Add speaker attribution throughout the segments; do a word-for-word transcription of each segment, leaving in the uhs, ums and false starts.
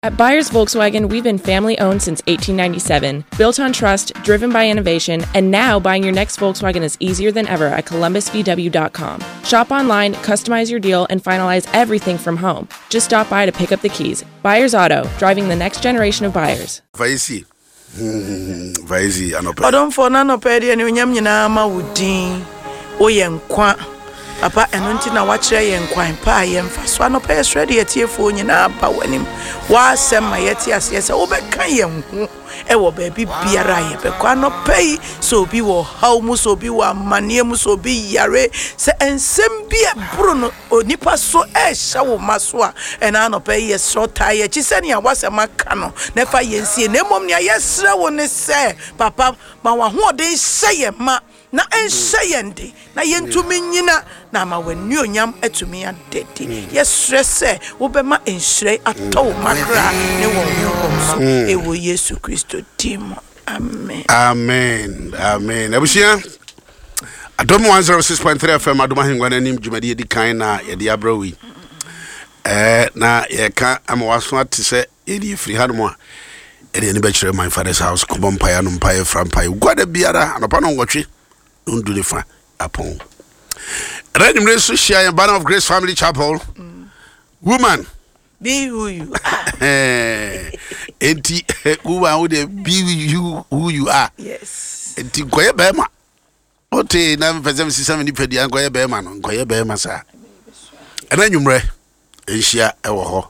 Speaker 1: At Byers Volkswagen, we've been family owned since eighteen ninety-seven, built on trust, driven by innovation, and now buying your next Volkswagen is easier than ever at Columbus V W dot com. Shop online, customize your deal, and finalize everything from home. Just stop by to pick up the keys. Byers Auto, driving the next generation of buyers.
Speaker 2: Vaisi. Vaisi, anɔpɛ.
Speaker 3: Ɔdɔmfoɔ no anɔpɛ deɛ ne onyam nyinaa ma wo din. Woyɛ nkwa. Papa, ɛno nti na wakyerɛ yɛn kwan pa a yɛmfa so. Anɔpɛ yɛsrɛ de yɛtiefoɔ nyinaa ba w'anim. W'asɛm ma yɛte aseɛ sɛ wobɛka yɛn ho ɛwɔ baabi biara a yɛbɛkɔ. Anɔpɛ yi, sɛ obi wɔ haw mu, sɛ obi wɔ amanneɛ mu, sɛ obi yare, sɛ nsɛm bi ɛboro no onipa so ɛhyɛ wo ma so a, ɛna anɔpɛ yi yɛsrɛ taa yɛkyi sɛnea w'asɛm aka no na ɛfa yɛn sie. Na mmom nea yɛsrɛ wo ne sɛ, papa, ma w'ahoɔden hyɛ yɛn ma na ɛnhyɛ yɛn de na yɛntumi nyina na ama w'anuonyam atumi adedi. Yɛsrɛ sɛ wobɛma nhyerɛ atɔ wo makra ne wɔn honhom so ɛwɔ Yesu Kristo din mu. Amen.
Speaker 2: Amen. Amen. Abusua, Adom one oh six point three F M Adom Ahengua n'anim dwumadie di kan na yɛde abrɛ wo yi. Eh, na yɛka ama waso ate sɛ yɛde firi ha nom a yɛde ani bɛkyerɛ my father's house kɔbɔ mpaeɛ no mpaeɛ fra mpaeɛ guada biara anɔpa no nwɔtwe ndu ne fa apɔn. Ɛnɛ anwummerɛ nso hyia yɛn Banner of Grace Family Chapel.
Speaker 3: Mm.
Speaker 2: Woman,
Speaker 3: be who you are.
Speaker 2: Enti woman wo de be you who you are.
Speaker 3: Yes.
Speaker 2: Enti nkɔyɛ bɛrima. Wote na mpɛ sɛ mesesa me nipadua nkɔyɛ bɛrima no, nkɔyɛ bɛrima saa. Ɛnɛ anwummerɛ nhyia ɛwɔ hɔ.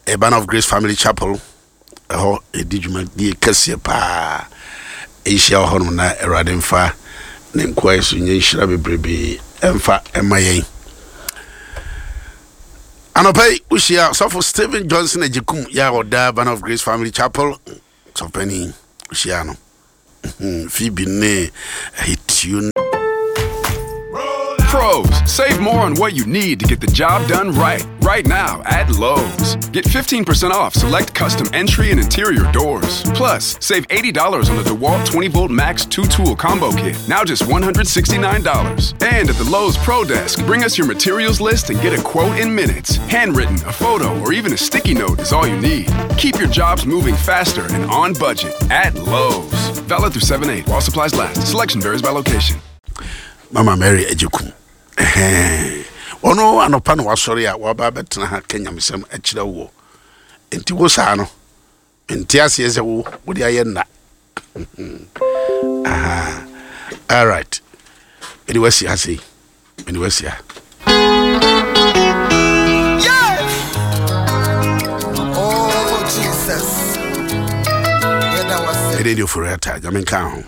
Speaker 2: A Banner of Grace Family Chapel ɛhɔ ɛdi dwumadie kɛseɛ paa. Nhyia wɔ hɔnom na Awurade mfa ne nkoa so nyɛ nhyira bebrebe ɛmfa ɛma yɛn. Anɔpa yi wohyia Sɔfo Stephen Johnson Agyekum yɛ a ɔda Banner of Grace Family Chapel sɔfani wohyia no. Phoebe ne Ahitio.
Speaker 4: Pros, save more on what you need to get the job done right, right now at Lowe's. Get fifteen percent off select custom entry and interior doors. Plus, save eighty dollars on the DeWalt twenty volt Max two tool combo kit, now just one hundred sixty-nine dollars. And at the Lowe's Pro Desk, bring us your materials list and get a quote in minutes. Handwritten, a photo, or even a sticky note is all you need. Keep your jobs moving faster and on budget at Lowe's. Valid through seven eight while supplies last. Selection varies by location.
Speaker 2: Mama Mary Agyekum. Ono anɔpa no wasɔre a waba bɛtena ha Kenya mesɛm akyerɛ wo. Enti wo saa no nti aseɛ sɛ wo wode ayɛ nna. Aha. All right. Mede wasi ha sei. Mede wasi ha.
Speaker 5: Yeah. Oh Jesus. Yeah, that was it.
Speaker 2: Ɛde deɛ ofori ata, Nyame nka ho.